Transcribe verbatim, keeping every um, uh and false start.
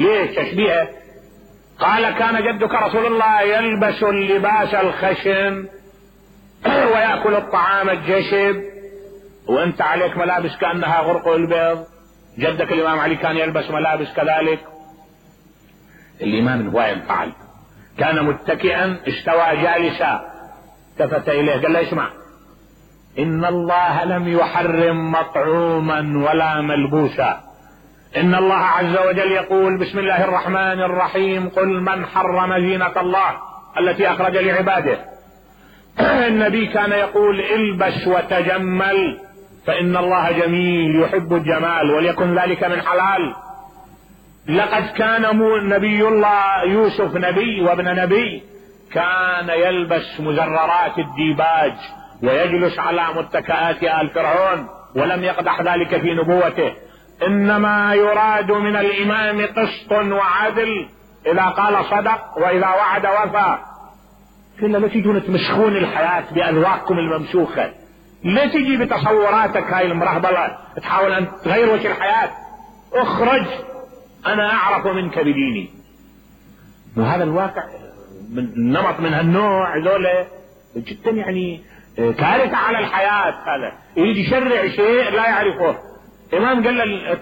ليش تشبيهه؟ قال كان جدك رسول الله يلبس اللباس الخشن ويأكل الطعام الجشب، وانت عليك ملابس كأنها غرق البيض. جدك الامام علي كان يلبس ملابس كذلك. الامام هو فعل، كان متكئا استوى جالسا، التفت اليه قال له اسمع، ان الله لم يحرم مطعوما ولا ملبوسا، ان الله عز وجل يقول بسم الله الرحمن الرحيم قل من حرم زينة الله التي اخرج لعباده. النبي كان يقول البس وتجمل فان الله جميل يحب الجمال وليكن ذلك من حلال. لقد كان نبي الله يوسف نبي وابن نبي كان يلبس مزررات الديباج ويجلس على متكئات آل فرعون، ولم يقدح ذلك في نبوته. انما يراد من الامام قسط وعدل، اذا قال صدق واذا وعد وفى. كلا لا تجون تمسخون الحياة باذواقكم الممسوخة، لا تجي بتصوراتك هاي المرهبلة تحاول ان تغير وجه الحياة. اخرج، انا اعرف منك بديني. وهذا الواقع من نمط من هالنوع ذولا جدا يعني كارثة على الحياة. هذا يجي يشرع شيء لا يعرفه. امام قال له